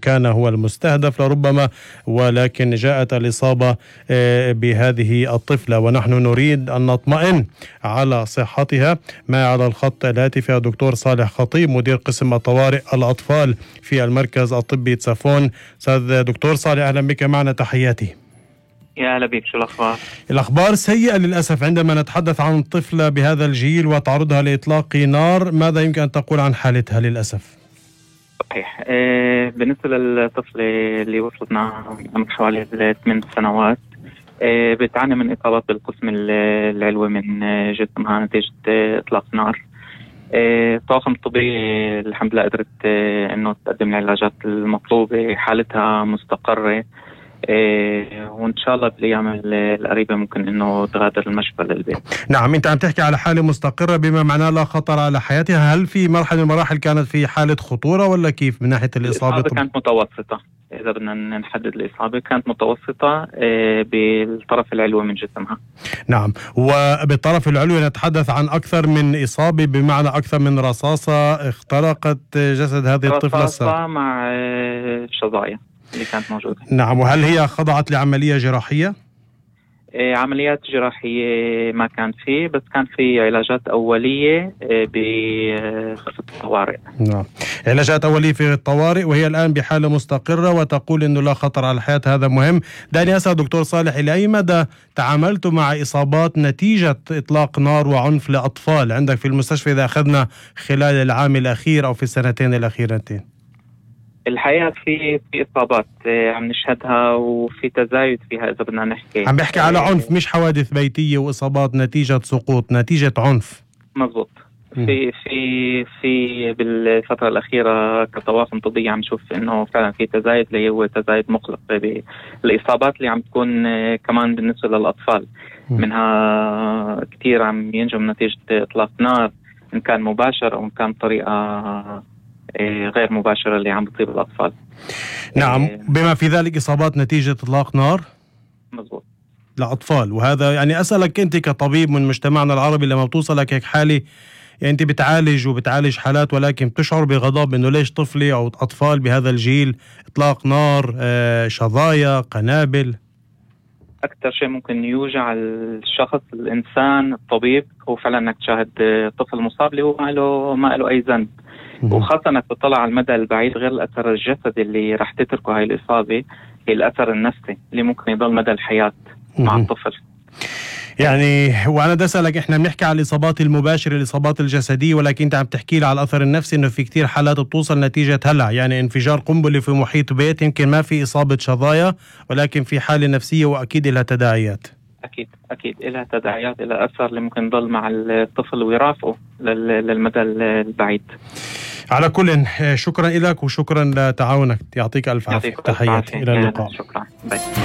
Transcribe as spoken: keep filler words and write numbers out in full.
كان هو المستهدف لربما، ولكن جاءت الإصابة بهذه الطفلة، ونحن نريد أن نطمئن على صحتها. ما على الخط الهاتف الدكتور صالح خطيب، مدير قسم الطوارئ الأطفال في المركز الطبي تسافون. أستاذ دكتور صالح، أهلا بك معنا، تحياتي. يا هلا بك، شو الأخبار؟ الأخبار سيئة للأسف عندما نتحدث عن طفلة بهذا الجيل وتعرضها لإطلاق نار. ماذا يمكن أن تقول عن حالتها للأسف؟ صحيح. آه بالنسبة للطفلة اللي وصلتنا عمر حوالي ثمان سنوات، آه بتعاني من إصابات بالقسم العلوي من جسمها نتيجة إطلاق نار. آه الطاقم الطبي الحمد لله قدرت آه إنه تقدم العلاجات المطلوبة، حالتها مستقرة. إيه وإن شاء الله بالأيام القريبة ممكن إنه تغادر المشفى للبيت. نعم، أنت عم تحكي على حالة مستقرة بما معناه لا خطر على حياتها. هل في مرحلة من المراحل كانت في حالة خطورة ولا كيف من ناحية الإصابة؟ الإصابة كانت متوسطة، إذا بدنا نحدد الإصابة كانت متوسطة إيه بالطرف العلوي من جسمها. نعم، وبالطرف العلوي نتحدث عن أكثر من إصابة، بمعنى أكثر من رصاصة اخترقت جسد هذه الطفلة. رصاصة مع شظايا اللي كانت موجودة. نعم، وهل هي خضعت لعملية جراحية؟ إيه عمليات جراحية ما كان فيه، بس كان في علاجات أولية إيه بغرفة الطوارئ. نعم، علاجات أولية في الطوارئ، وهي الآن بحالة مستقرة وتقول إنه لا خطر على الحياة. هذا مهم. دعني أسأل دكتور صالح، إلى أي مدى تعاملتوا مع إصابات نتيجة إطلاق نار وعنف لأطفال عندك في المستشفى إذا أخذنا خلال العام الأخير أو في السنتين الأخيرتين؟ الحقيقة في في إصابات عم نشهدها وفي تزايد فيها إذا بدنا نحكي. عم بحكي على عنف، مش حوادث بيتية وإصابات نتيجة سقوط، نتيجة عنف. مزبوط. في في في بالفترة الأخيرة كطواقم طبية عم نشوف إنه فعلا في تزايد، اللي هو تزايد مقلق بالإصابات اللي عم تكون كمان بالنسبة للأطفال. منها كتير عم ينجم من نتيجة إطلاق نار، إن كان مباشر أو إن كان طريقة غير مباشرة اللي عم بتصيب الأطفال. نعم، بما في ذلك إصابات نتيجة إطلاق نار. مزبوط. لأطفال. وهذا يعني أسألك أنت كطبيب من مجتمعنا العربي، لما بتوصلك هيك حالة، يعني أنت بتعالج وبتعالج حالات، ولكن بتشعر بغضب إنه ليش طفلي أو أطفال بهذا الجيل إطلاق نار، آه شظايا، قنابل. أكثر شيء ممكن يوجع الشخص الإنسان الطبيب هو فعلا إنك تشاهد طفل مصاب اللي هو ما له ما له أي ذنب، وخاصة انك تطلع على المدى البعيد. غير الاثر الجسدي اللي راح تتركه هاي الاصابه، هي الاثر النفسي اللي ممكن يضل مدى الحياه مع الطفل. يعني وانا بدي اسالك، احنا بنحكي على الاصابات المباشره، الاصابات الجسديه، ولكن انت عم تحكي لي على الاثر النفسي، انه في كتير حالات بتوصل نتيجه هلع، يعني انفجار قنبله في محيط بيت، يمكن ما في اصابه شظايا ولكن في حاله نفسيه واكيد لها تداعيات. أكيد أكيد لها تداعيات، لها أثر اللي ممكن يضل مع الطفل ويرافقه للمدى البعيد. على كل، شكرا لك وشكرا لتعاونك، يعطيك ألف عافية. تحياتي، إلى اللقاء. شكرا. باي.